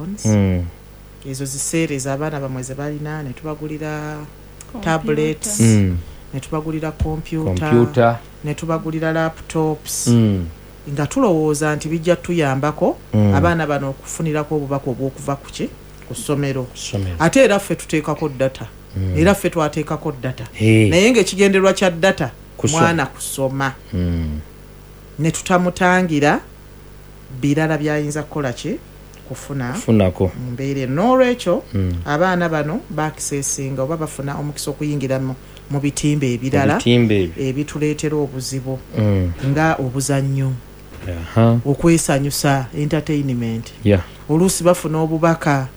Phones. Ezo ziseereza abaana bamwe ze balina, ne tubagulira tablets, ne tubagulira computer, Kompyuta. ne tubagulira laptops, nga tulowooza nti bijja tuyambako abaana bano okufunirako obubaka obw'okuva ku ki, ku ssomero. Ssomero. Ate era ffe tuteekako data, era ffe twateekako data, naye ng'ekigendererwa kya data Kusoma. mwana kusoma, ne tutamutangira birala byayinza kukola ki, kufuna Funako. mu mbeera eno. N'olwekyo abaana bano bakisesinga oba bafuna omukisa okuyingira mu bitimba ebirala Ebitimba ebyo. ebituleetera obuzibu, nga obuzannyo, okwesanyusa, entertainment. Oluusi bafuna obubaka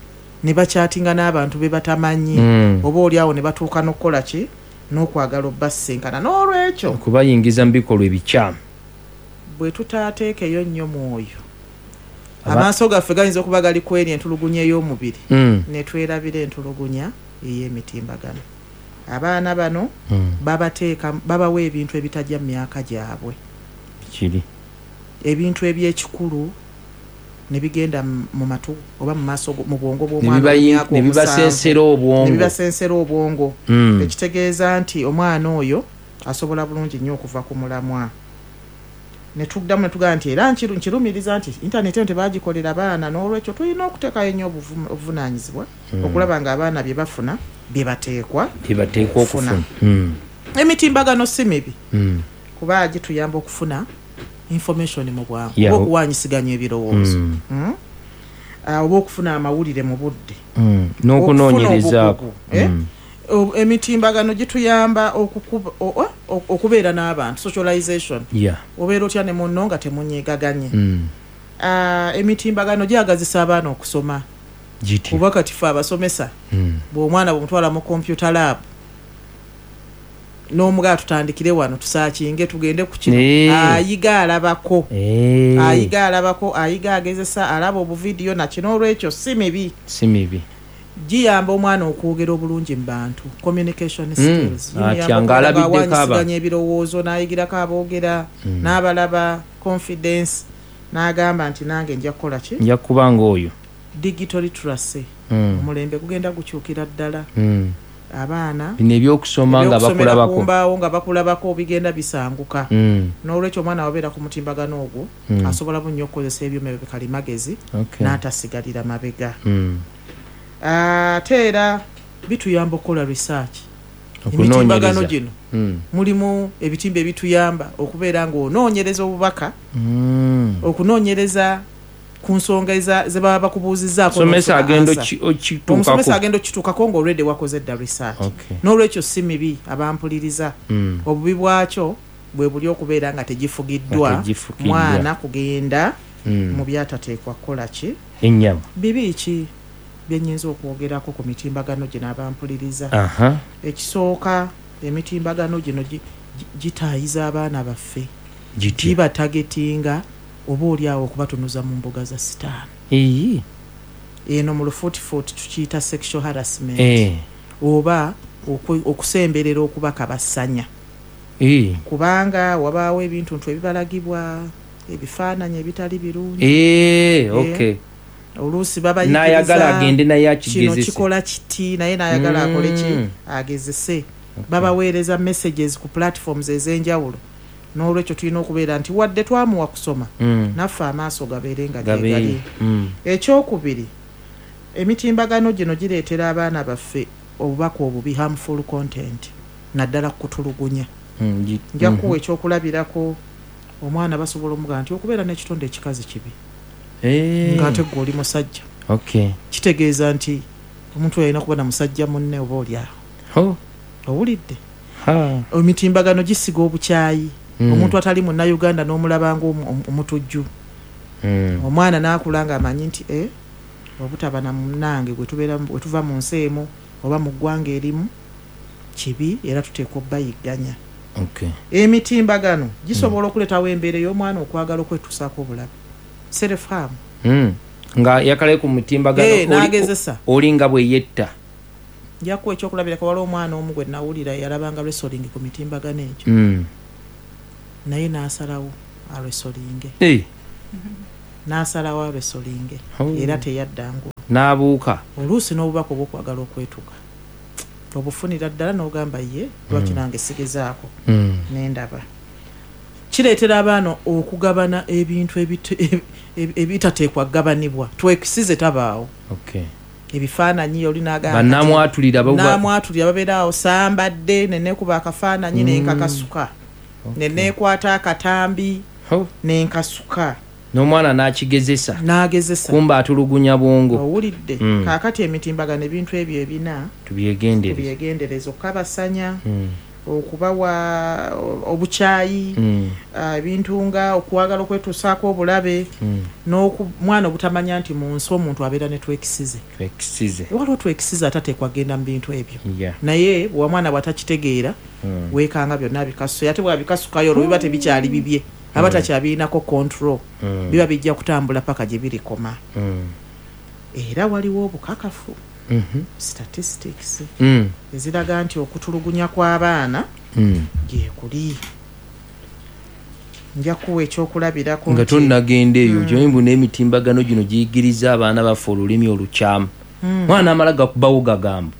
ne bakyatinga n'abantu be batamanyi, oba oli awo ne batuuka n'okukola ki, n'okwagala obbasinkana. N'olwekyo Okubayingiza mu bikolwa ebikyamu. Bwe tutaateekeyo nnyo mwoyo, amaaso gaffe gayinza okuba gali kweri entulugunya ey'omubiri, ne twerabira entulugunya ey'emitimbagano. Abaana bano babateeka, babawa ebintu ebitajja mu myaka gyabwe, Kiri. ebintu ebyekikulu ne bigenda mu matu oba mu maaso mu bwongo Ne bw'omwana ow'emyaka ne 7. Bibasensera Ne obwongo. bibasensera obwongo, ekitegeeza nti omwana oyo asobola bulungi nnyo okuva ku mulamwa. Ne tuddamu ne tugamba nti era nkirumiriza nti intaneti eno tebagikolera baana. N'olwekyo tulina okuteekayo nnyo obuvunaanyizibwa okulaba ng'abaana bye bafuna bye bateekwa Bye bateekwa okufuna. okufuna. Emitimbagano si mibi, kuba gituyamba okufuna information mu bwangu, oba okuwanyisiganya ebirowoozo. Oba okufuna amawulire mu budde, N'okunoonyerezaako. okugu, eh? Emitimbagano gituyamba okubeera n'abantu, socialization. Obeera otya ne munno nga temunyegaganye? Emitimbagano gyagazisa abaana okusoma, Gitya? kuba kati fe abasomesa, bw'omwana bwomutwala mu computer lab n'omugaa, "Tutandikire wano, tusaakinge, tugende ku kino," ayiga alabako. Ayiga alabako, ayiga agezesa, alaba obuvidiyo nakino. Olwekyo si mibi. Si mibi. Giyamba omwana okwogera obulungi mu bantu, communication skills. Atya Gimuyamba ng'alabiddeko okubeera ng'awanyisiganya ebirowoozo, n'ayigirako aboogera, n'abalaba confidence, n'agamba nti nange nja kukola ki? Nja kuba ng'oyo. Digital literacy. Omulembe gugenda gukyukira ddala. Abaana Bino ebyokusoma nga ebyokusomera ku bakulabako. mbaawo nga bakulabako bigenda bisanguka. N'olwekyo omwana wabeera ku mutimbagano ogwo, asobola bunnyo okukozesa ebyuma ebyo bikalimagezi n'atasigalira mabega. Ate era bituyamba okukola research. Emitimbagano Okunoonyereza. gino mulimu ebitimba ebituyamba okubeera ng'onoonyereza obubaka, okunoonyereza ku nsonga ze baba bakubuuzizzaako, Omusomesa n'ofuna agenda answer. okituukako. Omusomesa agenda okituukako ng'olwedde wakoze dda research. N'olwekyo si mibi, abampuliriza. Obubi bwakyo bwe buli okubeera nga tegifugiddwa, Nga tegifugiddwa. mwana kugenda mu byatateekwa kukola ki. Ennyama. Bibi ki byenyinza okwogerako ku mitimbagano gino, abampuliriza? Ekisooka, emitimbagano gino gitaayiza abaana baffe. Gitya? Gibatagetinga oba oli awo okubatunuza mu mbuga za sitaani. Eno mu lufuutifuuti tukiyita sexual harassment, oba okusemberera okubakabassanya, kubanga wabaawo ebintu ntu ebibalagibwa, ebifaananyi ebitali birungi. Oluusi N'ayagala babayigiriza agende naye kino akigezese. kikola kiti, naye n'ayagala akole ki? Agezese. Babaweereza messages ku platforms ez'enjawulo. N'olwekyo tulina okubeera nti wadde twamuwa kusoma, naffe amaaso gabeere nga Gabeere. gyegali. Ekyokubiri, emitimbagano gino gireetera abaana baffe obubaka obubi, harmful content, naddala kutulugunya. Nja kuwa ekyokulabirako. Omwana basobola omugamba nti okubeera n'ekitonde ekikazi kibi, ng'ate gwe oli musajja. Kitegeeza nti omuntu oyo alina kuba na musajja munne oba oli awo. Owulidde? Emitimbagano gisiga obukyayi. Omuntu atali munnayuganda n'omulaba nga omutujju. Omwana n'akula ng'amanyi nti obutaba na munnange gwe tubeera, bwe tuva mu nsi emu oba mu ggwanga erimu kibi, era tuteekwa obbayigganya. Emitimbagano gisobola okuleetawo embeera ey'omwana okwagala okwetuusaako obulabe, self harm. Nga yakale ku mutimbagano N'agezesa. Oli nga bwe yetta. Nja kuwa ekyokulabirako. Waliwo omwana omu gwe nawulira yalabanga wrestling ku mitimbagano egyo, naye n'asalawo awrestlinge. N'asalawo awrestlinge. Era teyadda ngulu. N'abuuka. Oluusi n'obubaka obwokwagala okwetuga obufunira ddala n'ogamba, ye lwaki nange sigezaako? Nendaba kireetera abaana okugabana ebintu ebitateekwa kugabanibwa. Twekisize tabaawo. Ebifaananyi oli n'agamba Bannamwatulira. Namwatulira babeeraawo, sambadde nenekuba akafaananyi nenkakasuka, neneekwata akatambi nenkasuka. N'omwana n'akigezesa. N'agezesa. Kumba atulugunya bwongo. Owulidde? Kaakati emitimbagano, ebintu ebyo ebina Tubyegendereze. tubyegendereza: okukabasanya, okubawa obukyayi, ebintu nga okwagala okwetuusaako obulabe, n'omwana obutamanya nti mu nsi omuntu abeera ne twekisize. Twekisize. Waliwo twekisize atateekwa kugenda mu bintu ebyo, naye bwamwana bw'atakitegeera, weekanga byonna bikasuka. Ate bwabikasukayo, olwo biba tebikyali bibye, aba takyabirinako control. Biba bijja kutambula paka gye birikoma. Era waliwo obukakafu, statistics eziraga nti okutulugunya kw'abaana gyekuli. Nja kuwa ekyokulabirako Nga nti tonnagenda eyo, okimanyi mbu n'emitimbagano gino giyigiriza abaana baffe olulimi olukyamu? Mwana amala gakubawo gagambo,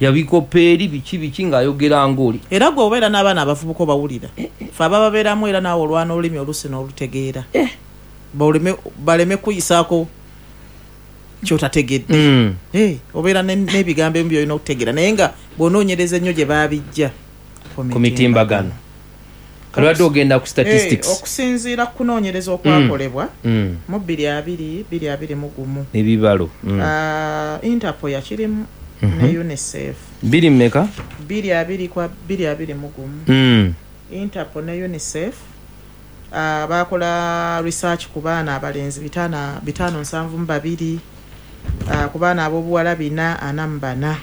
yabikopa eri biki biki ng'ayogera ng'oli. Era gwe obeera n'abaana abavubuka obawulira, fe abababeeramu, era naawe olwana olulimi olusi n'olutegeera. Baleme kuyisaako kyotategedde. Obeera n'ebigambo ebimu byolina okutegeera, naye nga bw'onoonyereza ennyo gye baabijja. Ku mitimbagano. Kalwadde ogenda ku statistics. Okusinziira ku kunoonyereza okwakolebwa mu 2021, Ebibalo. Interpol yakirimu ne UNICEF. Biri mmeka? 20 kwa 2021. Interpol ne UNICEF bakola research ku baana abalenzi 572, ku baana ab'obuwala 444,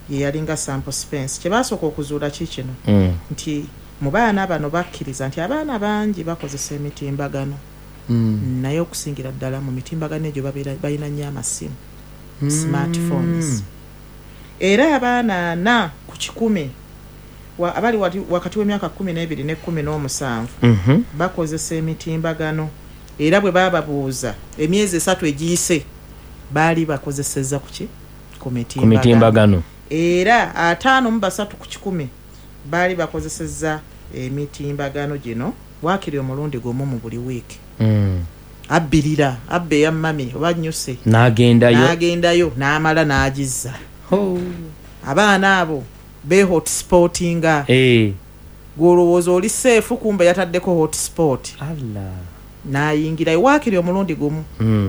ye yalinga sample space. Kye basooka okuzuula ki kino, nti mu baana bano bakkiriza nti abaana bangi bakozesa emitimbagano, naye okusingira ddala mu mitimbagano egyo babeera balina nnyo amasimu, smartphones. Era abaana 40% abali wakati w'emyaka 12 ne 17 bakozesa emitimbagano, era bwe bababuuza emyezi 3 egiyise baali bakozesezza kuki? Ku Ku mitimbagano. mitimbagano. Era 53% baali bakozesezza emitimbagano gino waakiri omulundi gumu mu buli wiiki. Abbirira abba eya mummy oba nnyuse, N'agendayo. n'agendayo n'amala n'agizza. Ho. Abaana abo be hotspotinga. Gw'olowooza oli safe, kumbe yataddeko hotspot. Allah. N'ayingirayo waakiri omulundi gumu,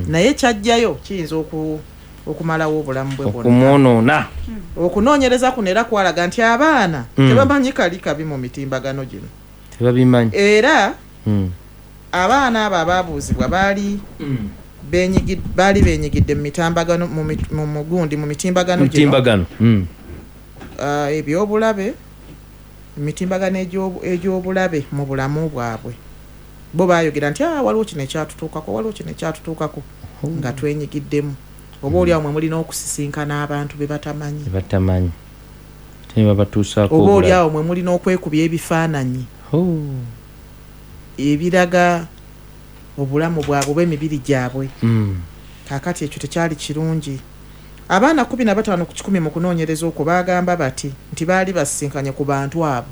naye kyajjayo kiyinza okumalawo obulamu bwe bwonna, Okumwonoona. Okunoonyereza kuno era kwalaga nti abaana tebamanyi kali kabi mu mitimbagano gino. Tebabimanyi. Era abaana abo abaabuuzibwa baali benyigidde mu mitambagano mu mugundi mu mitimbagano gino, Mitimbagano. Ebyobulabe, emitimbagano egy'obulabe mu bulamu bwabwe. Bo baayogera nti, "Ah, waliwo kino ekyatutuukako, waliwo kino ekyatutuukako nga twenyigiddemu." Oba oli awo mwe mulina okusisinkana abantu be batamanyi. Batamanyi ate ne babatuusaako Oba oli obulabe. awo mwe mulina okwekubya ebifaananyi Oh. ebiraga obulamu bwabwe oba emibiri gyabwe. Kaakati ekyo tekyali kirungi. Abaana 15% mu kunoonyereza okwo baagamba bati nti baali basisinkanye ku bantu abo,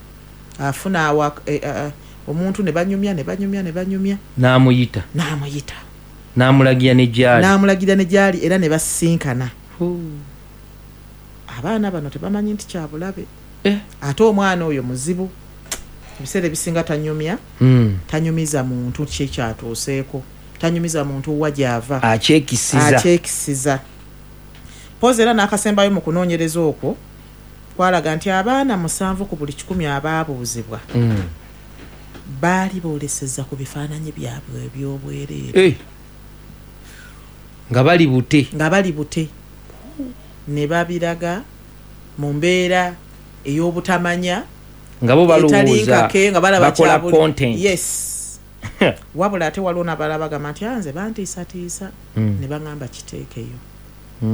afuna awa omuntu ne banyumya, ne banyumya, ne banyumya. N'amuyita. N'amuyita. N'amulagira ne gyali. N'amulagira ne gyali, era ne basisinkana. Oh. Abaana bano tebamanyi nti kyabulabe. Ate omwana oyo muzibu, ebiseera ebisinga tanyumya. Tanyumiza muntu kyekyatuuseeko, tanyumiza muntu wa gyava. Akyekisiza. Akyekisiza pozi. Era n'akasembayo mu kunoonyereza okwo kwalaga nti abaana 7 ku buli 100 abaabuuzibwa baali booleseza ku bifaananyi byabwe ebyobwereere. Nga bali bute. Nga bali bute, ne babiraga mu mbeera ey'obutamanya, Nga bo etali balowooza nkake, nga balaba bakola kyabuli. content. Yes, wabula ate waliwo n'abalala bagamba nti, "Ah, nze bantiisatiisa ne baŋŋamba kiteekeyo,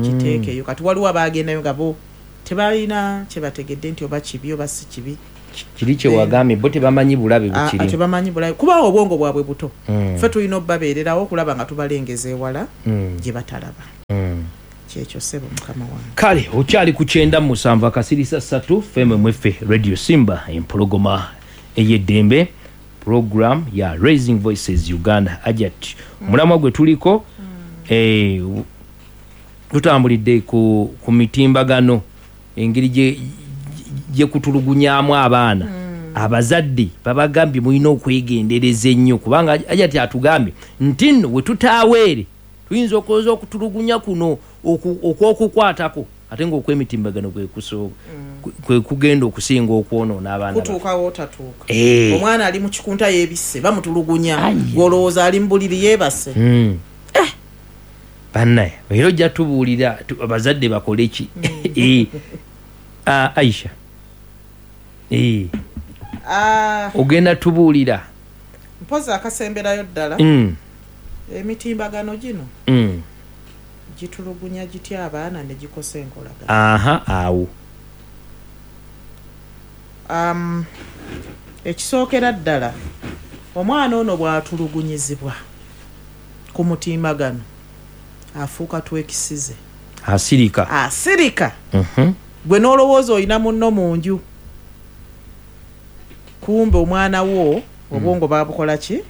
kiteekeyo." Kati waliwo abagendayo nga bo tebalina kyebategedde nti oba kibi oba si kibi. Kiri kyewagambye bo tebamanyi bulabe bukiri. Tebamanyi bulabe kuba obwongo bwabwe buto. Ffe tulina obbabeererawo okulaba nga tubalengeza ewala gye batalaba. Kyekyo ssebo mukama wange. Kale okyali ku 97.3 FM mweffe Radio Simba empologoma ey'eddembe, program ya Raising Voices Uganda. Ajat omulamwa gwe tuliko tutambulidde ku mitimbagano, engeri gye kutulugunyamu abaana. Abazadde babagambye mulina okwegendereza ennyo, kubanga Ajat atugambye nti nno we tutaaweere tuyinza okulowooza okutulugunya kuno okw'okukwatako, ate ng'okwemitimbagano kwe kugenda okusinga okwonoona abaana. Kutuukawo otatuuka. Omwana ali mu kikunta yeebisse bamutulugunya, gw'olowooza ali mu buliri yeebase. Bannaye era ojja tubuulira abazadde bakole ki? Aisha, ogenda tubuulira mpozi akasemberayo ddala. Emitimbagano gino gitulugunya gitya abaana ne gikosa enkolagana? Aha, awo ekisookera ddala, omwana ono bw'atulugunyizibwa ku mutimbagano afuuka twekisize, asirika. Gwe n'olowooza olina munno mu nju, kumbe omwana wo obwongo babukola ki?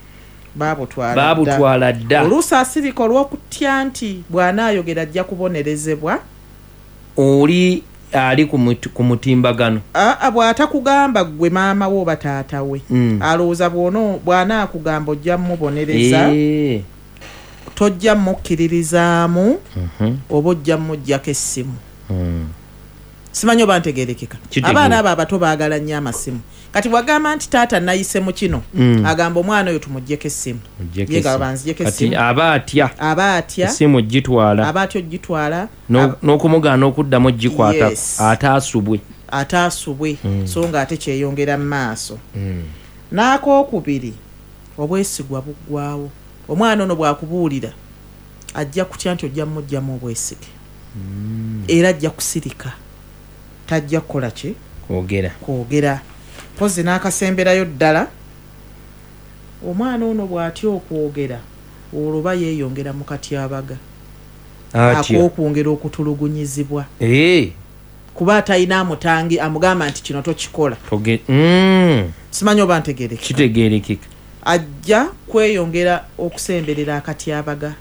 Babutwala dda. Oluusi asirika olw'okutya nti bw'anaayogera ajja kubonerezebwa. Oli ali ku mutimbagano bw'atakugamba ggwe maama wo oba taata we, alowooza bw'anaakugamba ojja mmubonereza, tojja mmukkiririzaamu, oba ojja mmuggyako essimu. Simanyi oba ntegeerekeka. Abaana abo abato baagala nnyo amasimu. Kati bw'agamba nti taata nayise mu kino, agamba omwana oyo tumuggyeko essimu. Ye nga banziggyeko essimu. Aba atya essimu gitwala, aba atya ogitwala, n'okumugaana okuddamu ogikwata, ate asubwe. So nga ate kyeyongera mu maaso. N'akookubiri, obwesigwa buggwawo. Omwana ono bw'akubuulira ajja kutya nti ojja mmuggyamu obwesige, era ajja kusirika, tajja kukola ki? Kwogera. Mpozi n'akasemberayo ddala, omwana ono bw'atya okwogera olwo ba yeeyongera mu katyabaga ak'okwongera okutulugunyizibwa, kuba atalina amutangi amugamba nti kino tokikola. Simanyi oba ntegeerekeka. Kitegeerekeka. Ajja kweyongera okusemberera akatyabaga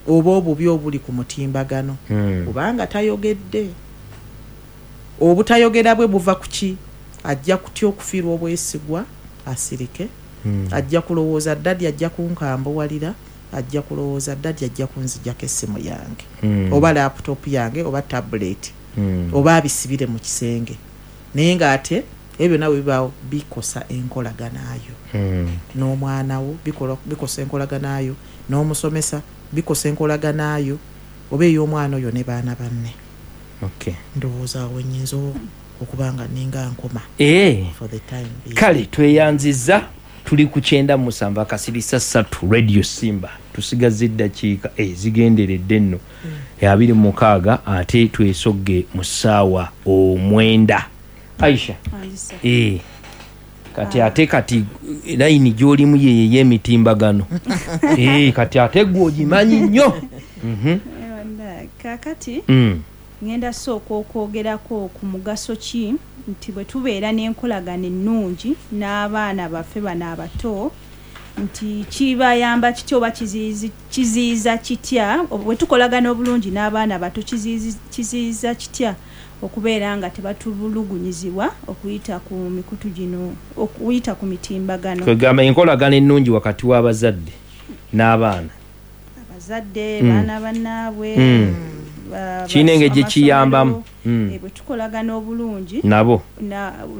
oba obubi obuli ku mutimbagano, kubanga tayogedde. Obutayogera bwe buva ku ki? Ajja kutya okufiirwa obwesigwa asirike, ajja kulowooza ddadi ajja kunkambuwalira, ajja kulowooza ddadi ajja kunzijjako essimu yange, oba laptop yange, oba tablet, oba abisibire mu kisenge. Naye ng'ate ebyo byonna bwe bibaawo bikosa enkolaganayo n'omwana wo, bikosa enkolaganayo n'omusomesa, bikosa enkolaganayo oba ey'omwana oyo ne baana banne. Ndowooza awo nnyinza okubanga ninga nkoma for the time being. Kale tweyanziza, tuli ku 97.3 Radio Simba. Tusigaza eddakiika ezigenderedde nno 26, ate twesogge mu ssaawa 9. Aisha, kati ate kati layini gy'olimu ye y'emitimbagano. Kati ate gwe ogimanyi nnyo. Kaakati ngenda sooka okwogerako ku mugaso ki nti bwe tubeera n'enkolagana ennungi n'abaana baffe bano abato, nti kibayamba kitya oba kiziyiza kitya, bwe tukolagana obulungi n'abaana bato kiziyiza kitya okubeera nga tebatulugunyizibwa okuyita ku mikutu gino, okuyita ku mitimbagano. Kwegamba enkolagana ennungi wakati w'abazadde n'abaana. Abazadde, baana bannaabwe, kirina engeri gye kiyambamu. Bwe tukolagana obulungi nabo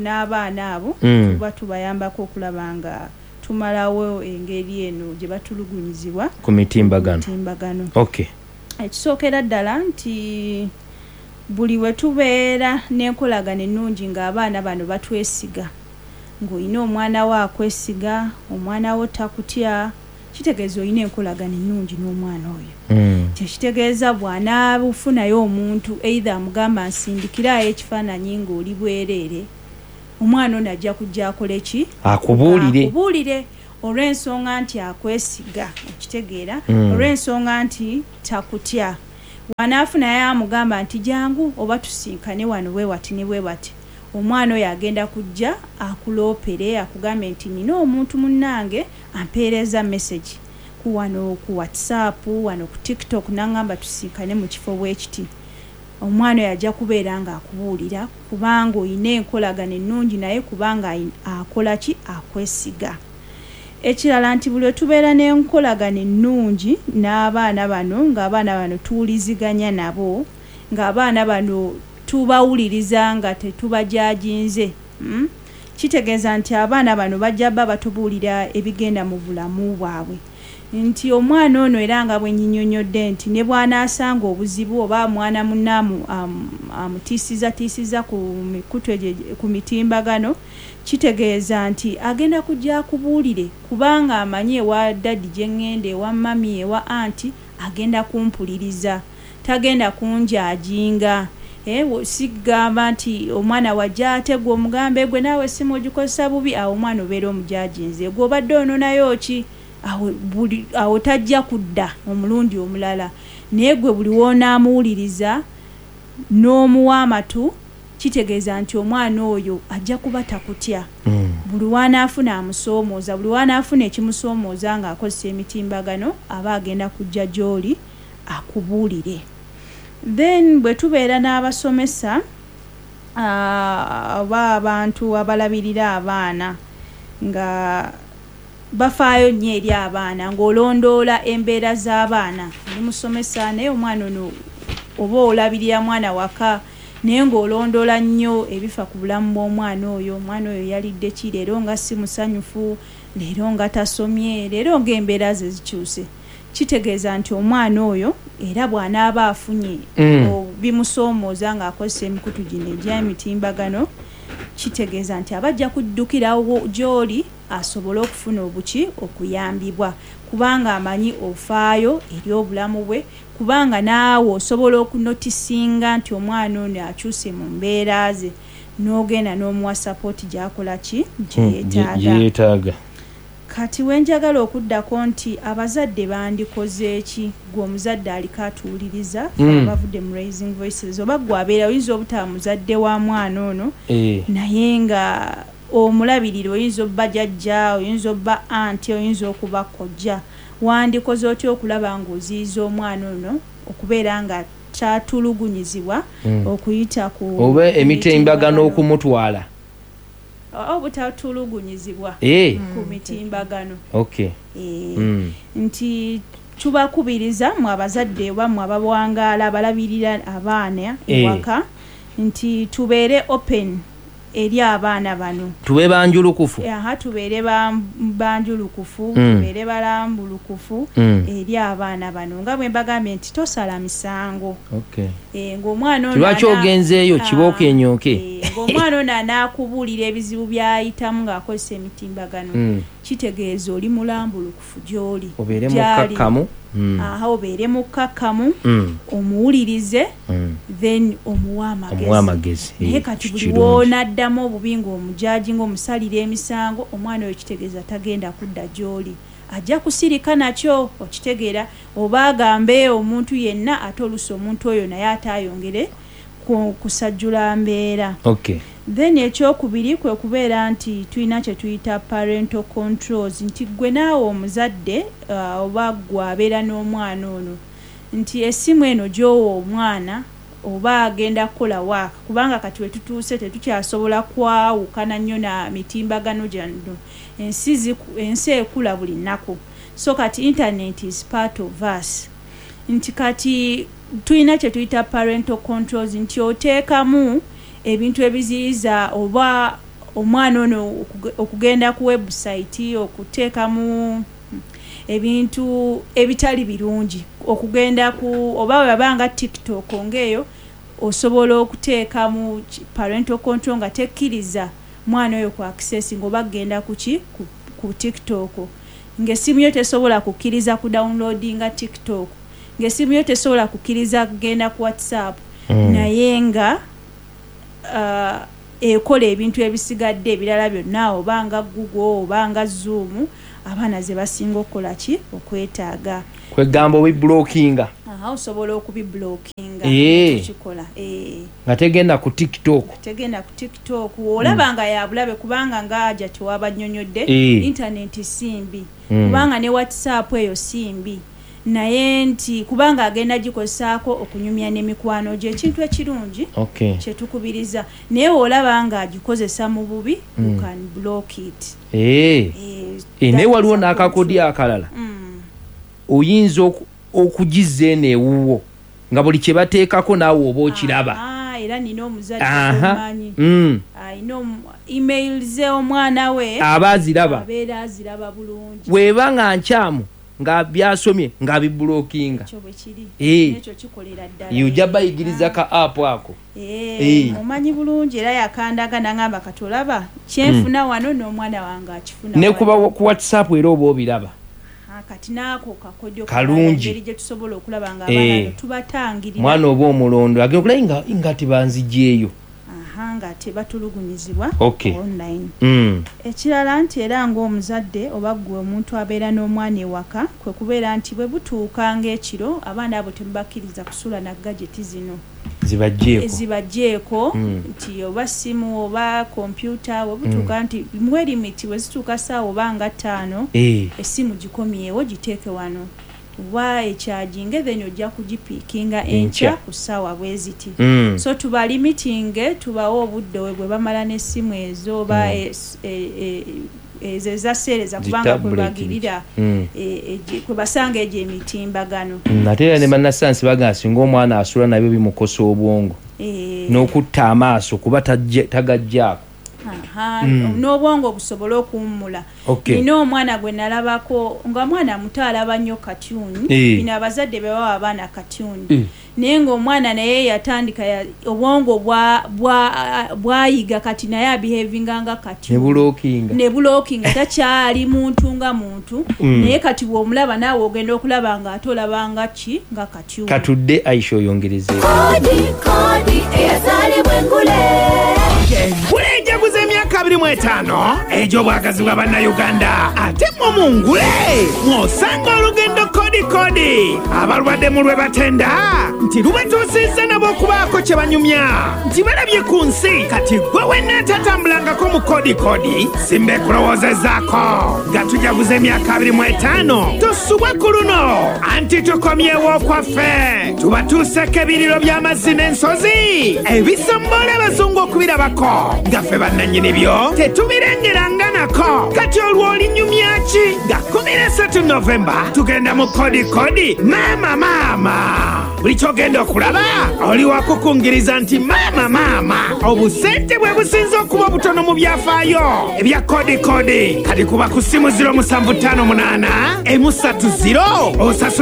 n'abaana abo, tuba tubayambako okulaba nga tumalawo engeri eno gye batulugunyizibwa ku mitimbagano. Ekisookera ddala nti buli we tubeera n'enkolagana ennungi ng'abaana bano batwesiga, ng'olina omwana wo akwesiga, omwana wo takutya, kitegeeza olina enkolagana ennungi n'omwana oyo. Kyekitegeeza bw'anaabufunayo omuntu either amugamba nsindikirayo ekifaananyi ng'oli bwereere, Omwana ono ajja kujja akole ki? Akubuulire. Akubuulire olw'ensonga nti akwesiga, okitegeera, olw'ensonga nti takutya. Wanaafuna naye amugamba nti jangu oba tusinkane wano bwe wati ne bwe wati, omwana oyo agenda kujja akuloopere, akugambe nti nina omuntu munnange ampeereza message ku wano ku WhatsApp, wano ku TikTok, n'aŋŋamba tusinkane mu kifo bwe kiti. Omwana oyo ajja kubeera ng'akubuulira kubanga oyina enkolagano ennungi naye, kubanga akola ki? Akwesiga. Ekirala nti buli tubeera n'enkolagano ennungi n'abaana bano, ng'abaana bano tuwuliziganya nabo, ng'abaana bano tubawuliriza nga tetubajajinze, Kitegeeza nti abaana bano bajja bba batubuulira ebigenda mu bulamu bwabwe, nti omwana ono era nga bwe nnyinyonnyodde nti ne bw'anaasanga obuzibu oba mwana munne amutiisizatiisiza ku mikutu egyo ku mitimbagano, kitegeeza nti agenda kujja akubuulire kubanga amanyi ewa daddy gye ŋŋenda, ewa mummy, ewa auntie, agenda kumpuliriza, tagenda kunjajinga. Sigamba nti omwana wajja ate gwe omugambe gwe naawe essimu ogikozesa bubi, awo omwana obeera omujajinze, gwe obadde ononayo ki? Awo tajja kudda omulundi omulala. Naye gwe buli w'onaamuwuliriza n'omuwa amatu, kitegeeza nti omwana oyo ajja kuba takutya. Buli w'anaafuna amusoomooza, buli w'anaafuna ekimusoomooza ng'akozesa emitimbagano, aba agenda kujja gy'oli akubuulire. Then bwe tubeera n'abasomesa oba abantu abalabirira abaana nga bafaayo nnyo eri abaana, ng'olondoola embeera z'abaana, oli musomesa naye omwana ono oba olabirira mwana waka, naye ng'olondoola nnyo ebifa ku bulamu bw'omwana oyo. Omwana oyo yalidde ki leero nga si musanyufu, leero nga tasomye, leero ng'embeera ze zikyuse, kitegeeza nti omwana oyo era bw'anaaba afunye bimusoomooza ng'akozesa emikutu gino egy'emitimbagano, kitegeeza nti aba ajja kuddukirawo gy'oli asobole okufuna obuki okuyambibwa, kubanga amanyi ofaayo eri obulamu bwe, kubanga naawe osobola okunotisinga nti omwana ono akyuse mu mbeera ze, n'ogenda n'omuwa support gy'akola ki? Gye yeetaaga. Kati wenjagala okuddako nti abazadde bandikoze ki? Gwe omuzadde aliko atuwuliriza, abavudde mu Raising Voices, oba gwe abeera, oyinza obutaba muzadde wa mwana ono, naye nga omulabirira, oyinza obba jjajja, oyinza obba auntie, oyinza okuba kojja, wandikoze otya okulaba ng'oziyiza omwana ono okubeera nga kyatulugunyizibwa okuyita ku oba emitimbagano okumutwala? Obutatulugunyizibwa ku mitimbagano. Nti tubakubiriza mwe abazadde oba mwe abawangaala abalabirira abaana ewaka nti tubeere open eri abaana bano. Tube banjulukufu. Aha, tubeere banjulukufu, tubeere balambulukufu eri abaana bano, nga bwe mbagambye nti tosala misango. Ng'omwana ono Lwaki ogenzeeyo kibooko enyooke? Ng'omwana ono anaakubuulira ebizibu by'ayitamu ng'akozesa emitimbagano, kitegeeza oli mulambulukufu gy'oli. Obeere Gy'ali. mukkakkamu. Aha, obeere mukkakkamu, omuwulirize, then omuwe amagezi. Omuwe amagezi. Naye kati buli Kirungi. woonaddamu obubi ng'omujaji, ng'omusalira emisango, omwana oyo kitegeeza tagenda kudda gy'oli, ajja kusirika nakyo, okitegeera, oba agambe omuntu yenna, ate oluusi omuntu oyo naye ate ayongere kusajjula mbeera. Then ekyokubiri kwe kubeera nti tulina kye tuyita parental controls, nti gwe naawe omuzadde, oba gwe abeera n'omwana ono, nti essimu eno gy'owa omwana oba agenda kukola waaka, kubanga kati we tutuuse tetukyasobola kwawukana nnyo na mitimbagano gyano, ensi ekula buli nnaku, so kati internet is part of us, nti kati tulina kye tuyita parental controls, nti oteekamu ebintu ebiziyiza oba omwana ono okugenda ku website, okuteekamu ebintu ebitali birungi, okugenda ku oba webaba nga TikTok ng'eyo, osobola okuteekamu parental control nga tekkiriza mwana oyo ku accessing oba kugenda kuki ku TikTok, ng'essimu yo tesobola kukkiriza ku downloadinga TikTok, ng'essimu yo tesobola kukkiriza kugenda ku WhatsApp, naye nga Ekola ebintu ebisigadde ebirala byonna, oba nga Google oba nga Zoom, abaana ze basinga okukola ki? Okwetaaga. Kwegamba obiblockinga. Aha, osobola okubiblockinga. Kikola Nga tegenda ku TikTok. Tegenda ku TikTok. Olaba nga yabulabe, kubanga nga aja tewabanyonyodde, internet simbi, kubanga ne WhatsApp eyo simbi, naye nti kubanga agenda gikozesaako okunyumya n'emikwano gye, ekintu ekirungi kyetukubiriza, naye olaba nga agikozesa mu bubi, you can block it. Naye waliwo n'akakodyo akalala. Oyinza okugizza eno ewuwo nga buli kye bateekako naawe oba okiraba. Era nina omuzadde omanyi alina email ze, omwana we aba aziraba. Abeera aziraba bulungi. Bw'eba nga nkyamu nga byasomye nga biblockinga. Ekyo bwe kiri. Ekyo kikolera ddala. Ojja bayigiriza ka app ako. Omanyi bulungi, era yakandaga nangamba, kati olaba kyenfuna wano n'omwana wange akifuna. Ne kuba ku WhatsApp era oba obiraba. Kati naako kakodyo Kalungi. Engeri gye tusobola okulaba nga abaana tubatangirira. Mwana oba omulondo agenda okulaba nga tebanzigyeyo. Aha, nga tebatulugunyizibwa online. Ekirala nti era ng'omuzadde oba ggwe omuntu abeera n'omwana ewaka, kwe kubeera nti bwe butuuka ng'ekiro, abaana abo temubakkiriza kusula na gadget zino. Zibajjeeko. Zibajjeeko. Nti oba simu oba kompyuta, bwe butuuka nti muwe limit, bwe zituuka ssaawa oba nga 5, essimu gikomyewo, giteeke wano oba echarginge, then ojja kugipickinga enkya ku ssaawa bwe ziti. So tubalimitinge, tubawe obudde bwe bamala n'essimu ezo oba ezo ezaseereza, kubanga kwe bagirira, kwe basanga egyo emitimbagano. Ate era ne bannasayansi bagamba singa omwana asula nabyo bimukosa obwongo n'okutta amaaso kuba tagajjaako. N'obwongo busobole okuwummula. Nina omwana gwe nalabako nga mwana muto alaba nnyo cartoon. Bino abazadde be bawa abaana cartoon, naye ng'omwana naye yatandika obwongo bwayiga, kati naye abehavinga nga cartoon. Ne bulockinga. Ne bulockinga, takyali muntu nga muntu. Naye kati bw'omulaba naawe ogenda okulaba nga ate olaba nga ki? Nga cartoon. Katudde, Aisha, oyongerezeeko. Kodi kodi eyazaalibwa engule. Engule ejaguza emyaka 25 egy'obwagazi bwa Bannayuganda, ate mmwe mu ngule mw'osanga olugendo kodi kodi abalwadde mu lwe batenda nti lubatuusizza nabo okubaako kye banyumya nti balabye ku nsi. Kati gwe wenna atatambulangako mu kodi kodi, simba ekulowoozezaako nga tujaguza emyaka 25, tosubwa ku luno anti tukomyewo okwaffe, tubatuuseko ebiriro by'amazzi n'ensozi ebisombola abazungu okubirabako nga ffe bannannyini byo tetubirengeranga nako. Kati olwo olinyumya ki? Nga 13 Novemba tugenda mu kodi kodi. Maama maama, buli kyogenda okulaba oli wakukungiriza nti maama maama, obusente bwe businze okuba obutono mu byafaayo ebya kodi kodi. Kati kuba ku simu 0758 130 osasulira.